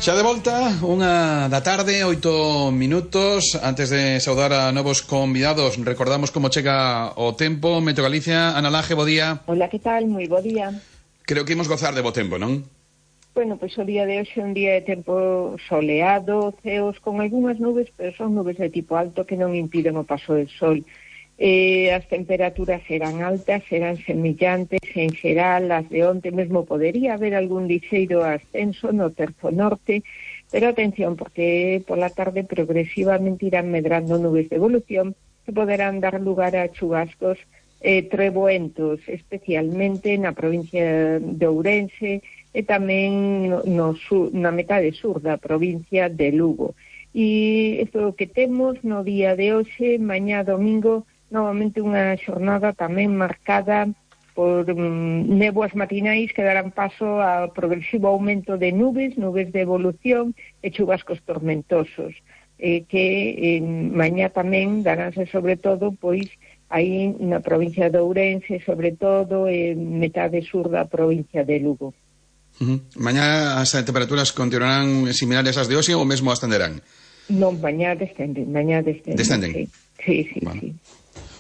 Xa de volta, 1:00 da tarde, 8 minutos. Antes de saudar a novos convidados, recordamos como chega o tempo. Meteo Galicia, Ana Laje, bo día. Hola, que tal? Moi bo día. Creo que imos gozar de bo tempo, non? Bueno, pois o día de hoxe é un día de tempo soleado, ceos con algunhas nubes, pero son nubes de tipo alto que non impiden o paso del sol. As temperaturas serán altas, serán semillantes en xeral, as de onte mesmo podería haber algún lixeiro ascenso no terzo norte, pero atención, porque pola tarde progresivamente irán medrando nubes de evolución que poderán dar lugar a chubascos treboentos, especialmente na provincia de Ourense e tamén na metade sur da provincia de Lugo. E isto é o que temos no día de hoxe. Mañá domingo, novamente unha xornada tamén marcada por néboas matinais que darán paso ao progresivo aumento de nubes de evolución e chubascos tormentosos, que mañá tamén daránse sobre todo pois aí na provincia de Ourense, sobre todo metade sur da provincia de Lugo. Mañá as temperaturas continuarán similares ás de hoxe ou mesmo ascenderán? Non, mañá descenden. Descenden? Sí. Bueno.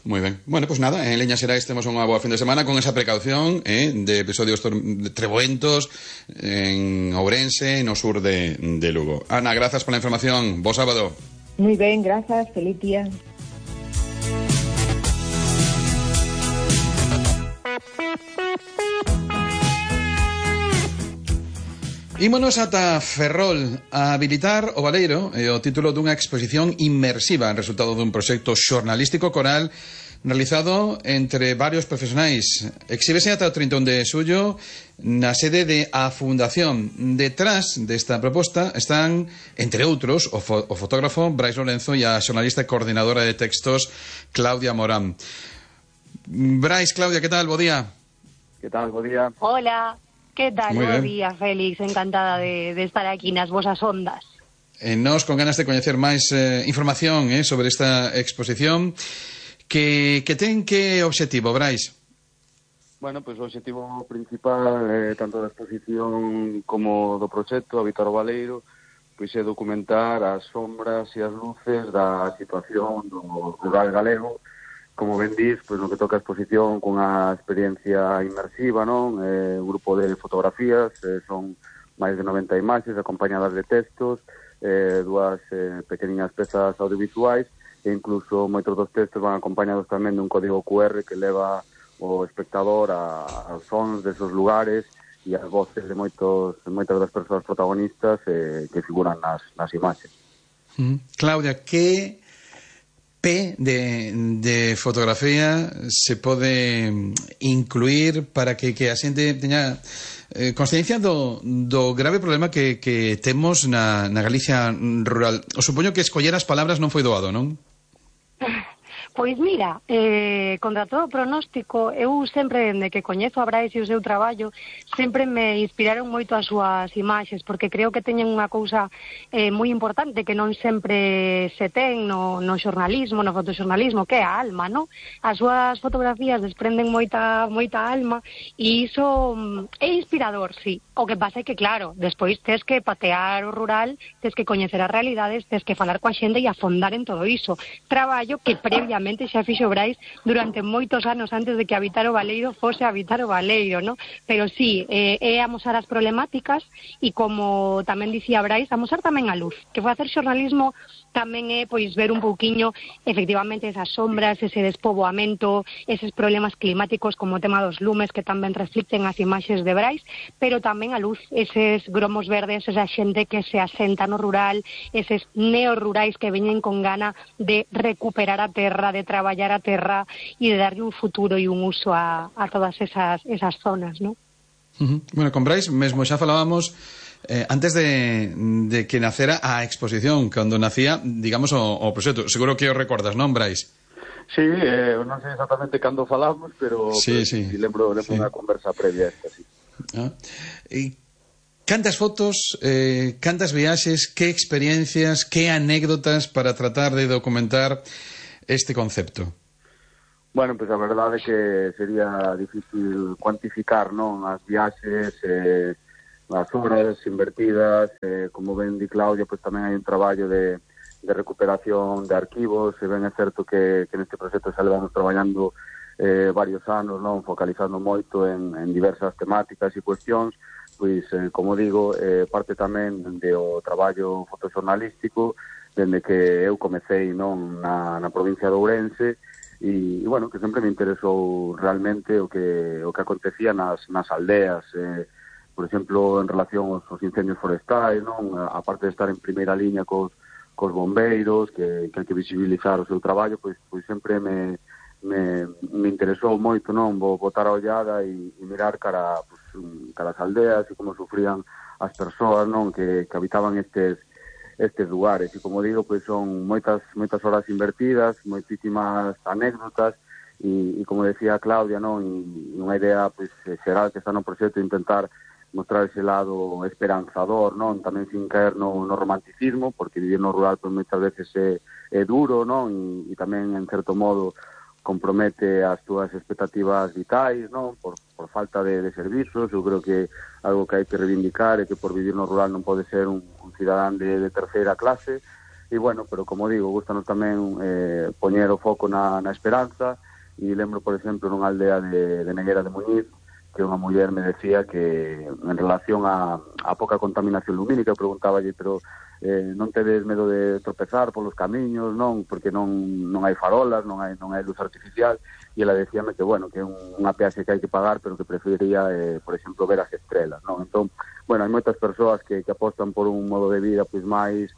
Moi ben. Bueno, pues nada, en Leñas Xerais temos unha boa fin de semana con esa precaución de episodios treboentos en Ourense, no sur de Lugo. Ana, grazas pola información. Bo sábado. Moi ben, grazas. Feliz día. Ímonos ata Ferrol a habilitar o Baleiro e o título dunha exposición inmersiva en resultado dun proxecto xornalístico coral realizado entre varios profesionais. Exhíbese ata o 31 de xullo na sede de A Fundación. Detrás desta proposta están, entre outros, o fotógrafo Brais Lorenzo e a xornalista e coordinadora de textos Claudia Morán. Brais, Claudia, que tal? Bo día. Que tal? Bo día. Hola. Que tal? Bo día, Félix. Encantada de estar aquí nas vosas ondas. Nós con ganas de coñecer máis información sobre esta exposición que ten que obxectivo, Brais? Bueno, pois o obxectivo principal tanto da exposición como do proxecto Habitar o Baleiro pois é documentar as sombras e as luces da situación do rural galego. Como ben dís, pois no que toca a exposición cunha experiencia inmersiva, non? Un grupo de fotografías, son máis de 90 imaxes acompañadas de textos, dúas pequeninas pezas audiovisuais e incluso moitos dos textos van acompañados tamén dun código QR que leva o espectador aos sons desos lugares e as voces de moitas das persoas protagonistas que figuran nas imaxes. Claudia, que de fotografía se pode incluir para que a xente teña consciencia do grave problema que temos na Galicia rural? O supoño que escoller as palabras non foi doado, non? Pois mira, contra todo pronóstico, eu sempre, dende que coñezo a Brais e o seu traballo, sempre me inspiraron moito as súas imaxes, porque creo que teñen unha cousa moi importante que non sempre se ten no xornalismo, no fotoxornalismo, que é a alma, non? As súas fotografías desprenden moita alma e iso é inspirador, sí. O que pasa é que, claro, despois tes que patear o rural, tes que coñecer as realidades, tes que falar coa xente e afondar en todo iso. Traballo que previamente xa fixo Brais durante moitos anos antes de que Habitar o Baleiro fose Habitar o Baleiro, ¿no? Pero sí, é amosar as problemáticas e, como tamén dicía Brais, amosar tamén a luz, que facer xornalismo tamén é pois ver un pouquiño efectivamente esas sombras, ese despoboamento, eses problemas climáticos como o tema dos lumes que tamén reflicten as imaxes de Brais, pero tamén a luz, eses gromos verdes, esa xente que se asenta no rural, eses neorrurais que veñen con gana de recuperar a terra, de traballar a terra e de darlle un futuro e un uso a todas esas zonas, ¿no? Bueno, con Brais mesmo xa falábamos antes de que nacera a exposición, cando nacía, digamos, o proxecto. Seguro que o recordas, non, Brais? Sí, non sei exactamente cando falamos, pero sí. lembro unha conversa previa a esta, sí. Cantas fotos, cantas viaxes, que experiencias, que anécdotas para tratar de documentar este concepto? Bueno, pois a verdade é que sería difícil cuantificar, non? As viaxes, as horas invertidas, como ben di Claudia, pois tamén hai un traballo de recuperación de arquivos, e ben é certo que neste proxecto xa levamos traballando varios anos, non, focalizando moito en diversas temáticas e cuestións, pois, como digo, parte tamén do traballo fotoxornalístico, dende que eu comecei, non, na provincia de Ourense, e bueno, que sempre me interesou realmente o que acontecía nas aldeas, por exemplo, en relación aos incendios forestais, non? Aparte de estar en primeira liña cos bombeiros, que hai que visibilizar o seu traballo, pois sempre me interesou moito, non? Botar a ollada e mirar cara as aldeas e como sufrían as persoas, non? Que habitaban estes lugares. E como digo, pois son moitas horas invertidas, moitísimas anécdotas, e como decía Claudia, non? E unha idea pois xeral que está no proxecto, intentar mostrar ese lado esperanzador, non? Tamén sin caer no romanticismo, porque vivir no rural pois moitas veces é duro, non? E tamén, en certo modo, compromete as túas expectativas vitais, non? Por falta de servizos. Eu creo que algo que hai que reivindicar é que por vivir no rural non pode ser un cidadán de terceira clase. E, bueno, pero como digo, gustanos tamén poñer o foco na esperanza. E lembro, por exemplo, nunha aldea de Neguera de Muñiz, que unha muller me decía que en relación a pouca contaminación lumínica, preguntáballe, pero non tedes medo de tropezar polos camiños, non? Porque non hai farolas, non hai luz artificial, e ela decíame que, bueno, que é unha peaxe que hai que pagar, pero que preferiría, por exemplo, ver as estrelas, non? Entón, bueno, hai moitas persoas que apostan por un modo de vida pois máis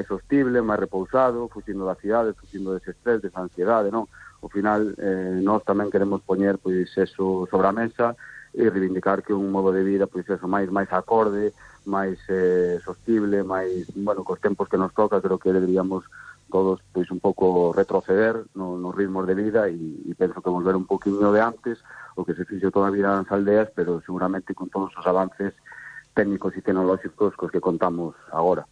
sostible, máis repousado, fuxindo da cidade, fuxindo dese estrés, desa ansiedade, non? Ao final, nós tamén queremos poñer pois eso sobre a mesa e reivindicar que un modo de vida pois eso máis acorde, máis sostible, máis, bueno, cos tempos que nos toca. Creo que deberíamos todos pois un pouco retroceder nos ritmos de vida e penso que volver un poquinho de antes, o que se fixo toda a vida nas aldeas, pero seguramente con todos os avances técnicos e tecnolóxicos cos que contamos agora.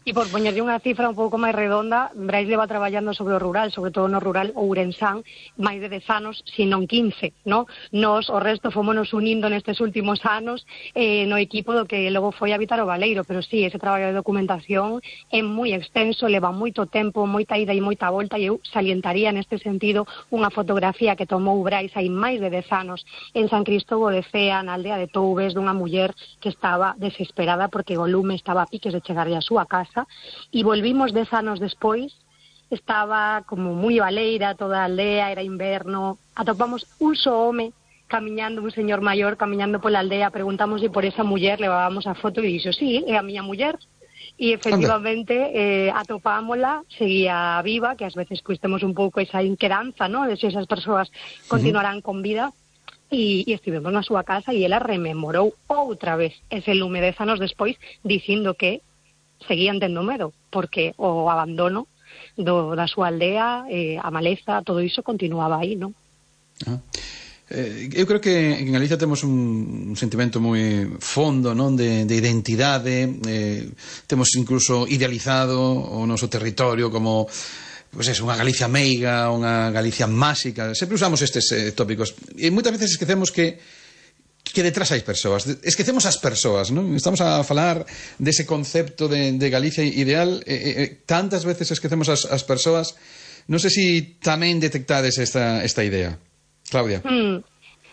E por poñerlle unha cifra un pouco máis redonda, Brais leva traballando sobre o rural, sobre todo no rural ourensán, máis de 10 anos, se non 15, no? Nos, o resto, fomos unindo nestes últimos anos no equipo do que logo foi Habitar o Baleiro, pero sí, ese traballo de documentación é moi extenso, leva moito tempo, moita ida e moita volta, e eu salientaría neste sentido unha fotografía que tomou Brais hai máis de 10 anos en San Cristóbal de Cea, na aldea de Toubes, dunha muller que estaba desesperada porque o lume estaba a piques de chegarlle a súa casa, e volvimos 10 anos despois, estaba como moi baleira toda a aldea, era inverno, atopamos un só home camiñando, un señor maior camiñando pola aldea, preguntámoslle por esa muller, levábamos a foto e dixo, sí, é a miña muller, e efectivamente atopámola, seguía viva, que ás veces pois temos un pouco esa inquedanza, ¿no?, de se esas persoas continuarán con vida. E estivemos na súa casa e ela rememorou outra vez ese lume 10 anos despois, dicindo que seguían tendo medo, porque o abandono da súa aldea, a maleza, todo iso continuaba aí, non? Eu creo que en Galicia temos un sentimento moi fondo, non, de identidade, temos incluso idealizado o noso territorio como pois é unha Galicia meiga, unha Galicia máxica. Sempre usamos estes tópicos e moitas veces esquecemos que detrás hai persoas, esquecemos as persoas, non? Estamos a falar dese concepto de Galicia ideal, tantas veces esquecemos as persoas. Non sei se tamén detectades esta idea, Claudia.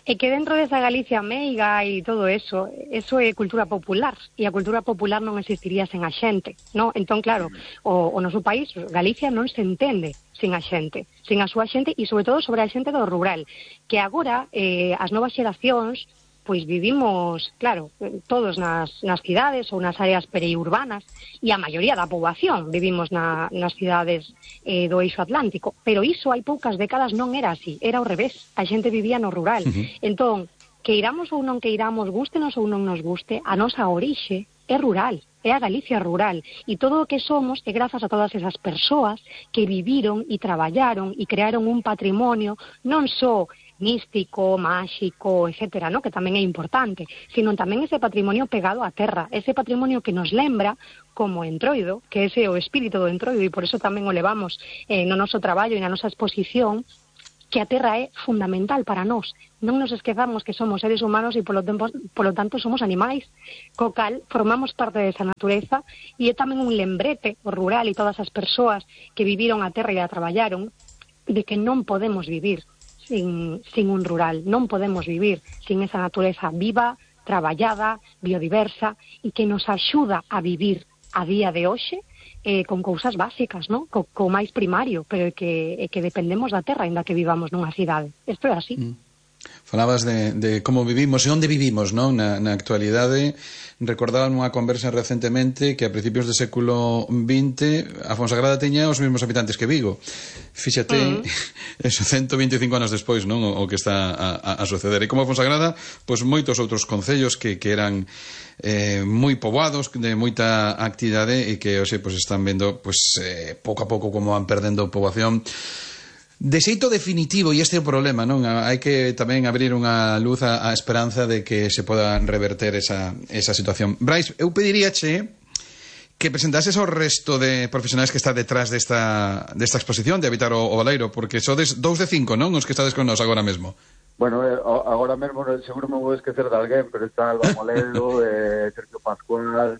É que dentro desa Galicia meiga e todo eso é cultura popular, e a cultura popular non existiría sen a xente, non? Entón, claro, o noso país, Galicia, non se entende sin a xente, sin a súa xente, e sobre todo sobre a xente do rural, que agora as novas xeracións pois vivimos, claro, todos nas cidades ou nas áreas periurbanas, e a maioría da poboación vivimos nas cidades do eixo atlántico, pero iso hai poucas décadas non era así, era ao revés, a xente vivía no rural. Entón, queiramos ou non queiramos, gústenos ou non nos guste, a nosa orixe é rural, é a Galicia rural, e todo o que somos é grazas a todas esas persoas que viviron e traballaron e crearon un patrimonio non só místico, máxico, etcétera, ¿no?, que tamén é importante, sino tamén ese patrimonio pegado á terra, ese patrimonio que nos lembra como Entroido, que ese é o espírito do Entroido, e por eso tamén o levamos no noso traballo e na nosa exposición, que a terra é fundamental para nós. Non nos esquezamos que somos seres humanos e polo tanto somos animais, co cal formamos parte desa natureza, e é tamén un lembrete o rural e todas as persoas que viviron a terra e a traballaron de que non podemos vivir sin un rural, non podemos vivir sin esa natureza viva, traballada, biodiversa e que nos axuda a vivir a día de hoxe con cousas básicas, ¿no? Co máis primario, pero que dependemos da terra, ainda que vivamos nunha cidade. Isto é así. Falabas de como vivimos e onde vivimos, non? Na actualidade, recordaba nunha conversa recentemente que a principios do século XX a Fonsagrada teña os mesmos habitantes que Vigo. Fíxate, eso 125 anos despois, non? O que está a suceder. E como a Fonsagrada, pois moitos outros concellos que eran moi poboados, de moita actividade e que hoxe pois están vendo pois pouco a pouco como van perdendo poboación de xeito definitivo, e este é o problema, non? Hai que tamén abrir unha luz á esperanza de que se poda reverter esa situación. Brais, eu pediríache que presentases ao resto de profesionais que está detrás desta exposición de Habitar o Baleiro, porque sodes 2 de 5, non? Os que estades con nós agora mesmo. Bueno, agora mesmo seguro me vou esquecer de alguén, pero está Alba Moledo, Sergio Pascual,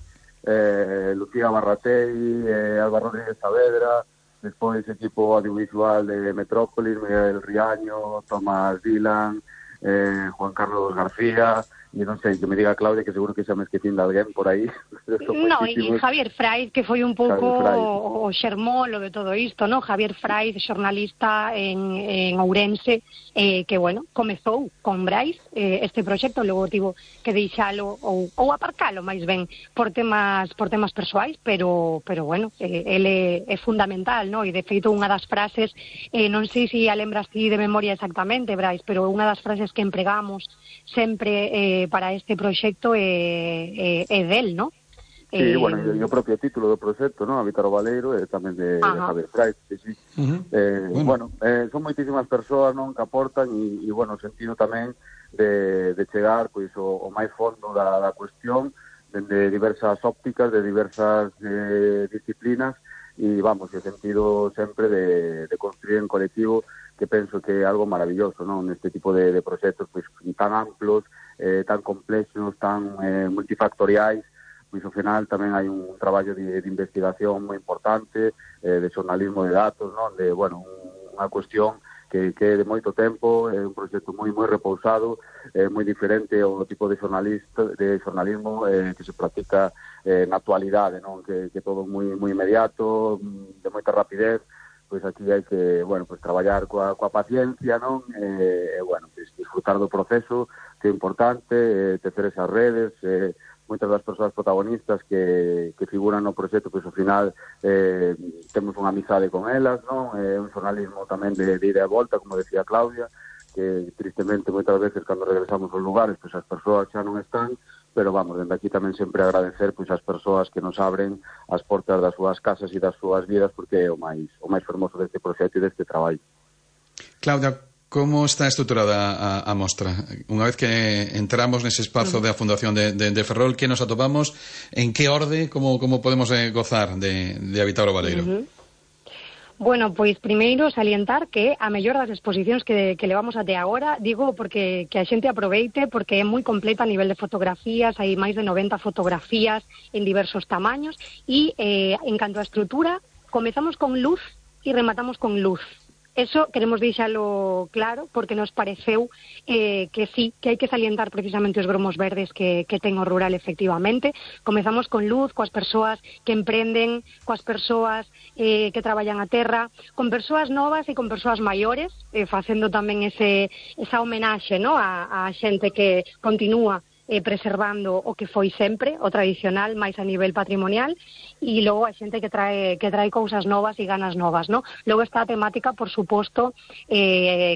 Lucía Barratei, Alba Rodríguez Saavedra, despois equipo audiovisual de Metrópolis, Miguel Riaño, Tomás Dylan, Juan Carlos García, e non sei, que me diga Claudia, que seguro que xa me esquecín de alguén por aí. No, e Javier Fraiz, que foi un pouco o xermolo de todo isto, no? Javier Fraiz, xornalista en Ourense, que, bueno, comezou con Brais este proxecto, logo tivo que deixalo ou aparcalo, máis ben, por temas persoais, pero bueno, ele é fundamental, no? E de feito unha das frases, non sei se a lembras ti de memoria exactamente, Brais, pero unha das frases que empregamos sempre para este proxecto é del, ¿no? Sí, bueno, e o propio título do proxecto, ¿no? Habitar o Baleiro, tamén de Javier Fraiz, sí. Bueno, son moitísimas persoas, non, que aportan e bueno, o sentido tamén de chegar, pois, o máis fondo da cuestión, de diversas ópticas, de diversas disciplinas, e vamos, o sentido sempre de construir en colectivo, que penso que é algo maravilloso, non? Neste tipo de proxectos pois tan amplos, tan complexos, tan multifactoriais, pois ao final tamén hai un traballo de investigación moi importante, de xornalismo de datos, non? De, bueno, unha cuestión que é de moito tempo, é un proxecto moi repousado, moi diferente ao tipo de xornalismo que se practica na actualidade, non? Que todo moi inmediato, de moita rapidez. Pois aquí hai que, bueno, pois traballar coa paciencia, non? Bueno, pois disfrutar do proceso, que é importante, tecer esas redes, moitas das persoas protagonistas que figuran no proxecto, pois ao final temos unha amizade con elas, non? Un xornalismo tamén de ida e volta, como decía Claudia, que tristemente moitas veces cando regresamos aos lugares, pois as persoas xa non están, pero vamos, dende aquí tamén sempre agradecer pois as persoas que nos abren as portas das súas casas e das súas vidas, porque é o máis fermoso deste proxecto e deste traballo. Claudia, como está estruturada a mostra? Unha vez que entramos nese espazo da Fundación de Ferrol, que nos atopamos? En que orde? Como podemos gozar de Habitar o Baleiro? Bueno, pois primeiro salientar que a mellor das exposicións que levamos até agora, digo porque que a xente aproveite, porque é moi completa a nivel de fotografías, hai máis de 90 fotografías en diversos tamaños e en canto a estrutura, comezamos con luz e rematamos con luz. Eso queremos deixalo claro porque nos pareceu que sí, que hai que salientar precisamente os gromos verdes que ten o rural efectivamente. Comezamos con luz, coas persoas que emprenden, coas persoas que traballan a terra, con persoas novas e con persoas maiores, facendo tamén esa homenaxe, ¿no? a xente que continúa preservando o que foi sempre, o tradicional, máis a nivel patrimonial, e logo a xente que trae cousas novas e ganas novas, ¿no? Logo está a temática, por suposto,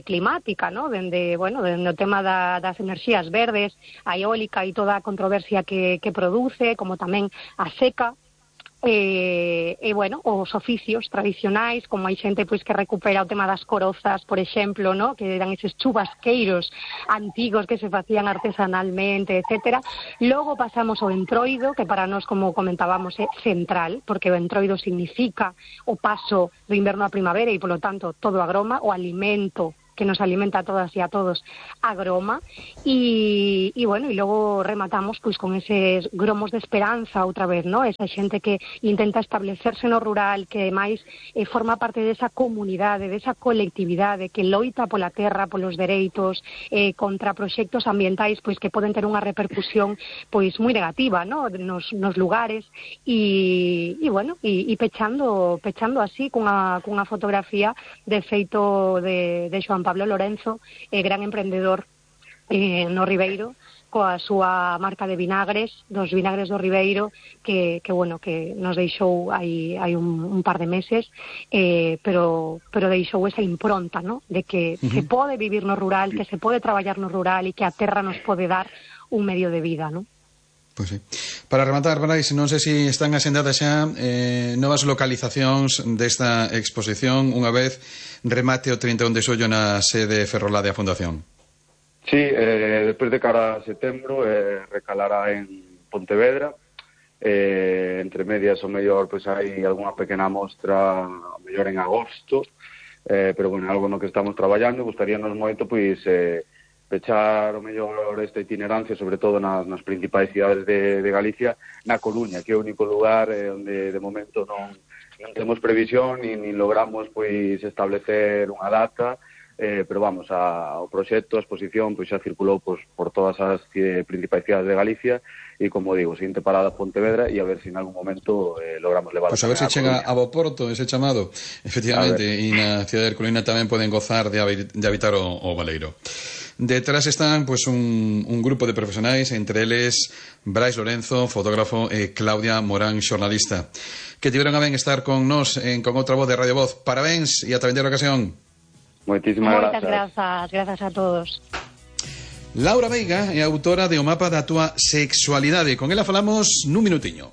climática, ¿no? Dende o tema das enerxías verdes, a eólica e toda a controversia que produce, como tamén a seca, os oficios tradicionais, como hai xente pois que recupera o tema das corozas, por exemplo, ¿no? Que eran eses chubasqueiros antigos que se facían artesanalmente, etcétera. Logo pasamos ao entroido, que para nós, como comentábamos, é central, porque o entroido significa o paso do inverno á primavera e, polo tanto, todo agroma, o alimento nos alimenta a todas e a todos, a groma, e bueno, e logo rematamos pois con eses gromos de esperanza outra vez, ¿no? Esa xente que intenta establecerse no rural, que máis forma parte desa comunidade, desa colectividade, que loita pola terra, polos dereitos, contra proxectos ambientais pois que poden ter unha repercusión pois moi negativa, ¿no? nos lugares, e bueno, e pechando así cunha fotografía de feito de Xoán Pablo Lorenzo, gran emprendedor no Ribeiro, coa súa marca de vinagres, dos vinagres do Ribeiro, que bueno, que nos deixou hai un par de meses, pero deixou esa impronta, ¿no? De que se pode vivir no rural, que se pode traballar no rural e que a terra nos pode dar un medio de vida, ¿no? Pois sí. Para rematar, Brais, non sei se están asendadas xa novas localizacións desta exposición unha vez remate o 31 de xollo na sede ferrolá da Fundación. Sí, despois de cara a setembro recalará en Pontevedra, entre medias o mellor pois hai algunha pequena mostra o mellor en agosto, pero bueno, algo no que estamos traballando. Gustaríanos moito pois pechar o mellor esta itinerancia, sobre todo nas principais cidades de Galicia, na Coruña, que é o único lugar onde de momento non temos previsión nin logramos pois establecer unha data, pero vamos, o proxecto, a exposición pois xa circulou pois, por todas as principais cidades de Galicia, e como digo, seguinte parada Pontevedra, e a ver se en algún momento logramos levar. Pois a ver se chega a Boporto ese chamado, efectivamente, e na cidade de Coruña tamén poden gozar de habitar o Baleiro. Detrás están pois un grupo de profesionais, entre eles Brais Lorenzo, fotógrafo, e Claudia Morán, xornalista, que tiveron a ben estar con nós con outra voz de Radio Voz. Parabéns e ata vindeira ocasión. Moitísimas grazas a todos. Laura Veiga é autora de O mapa da túa sexualidade. Con ela falamos nun minutiño.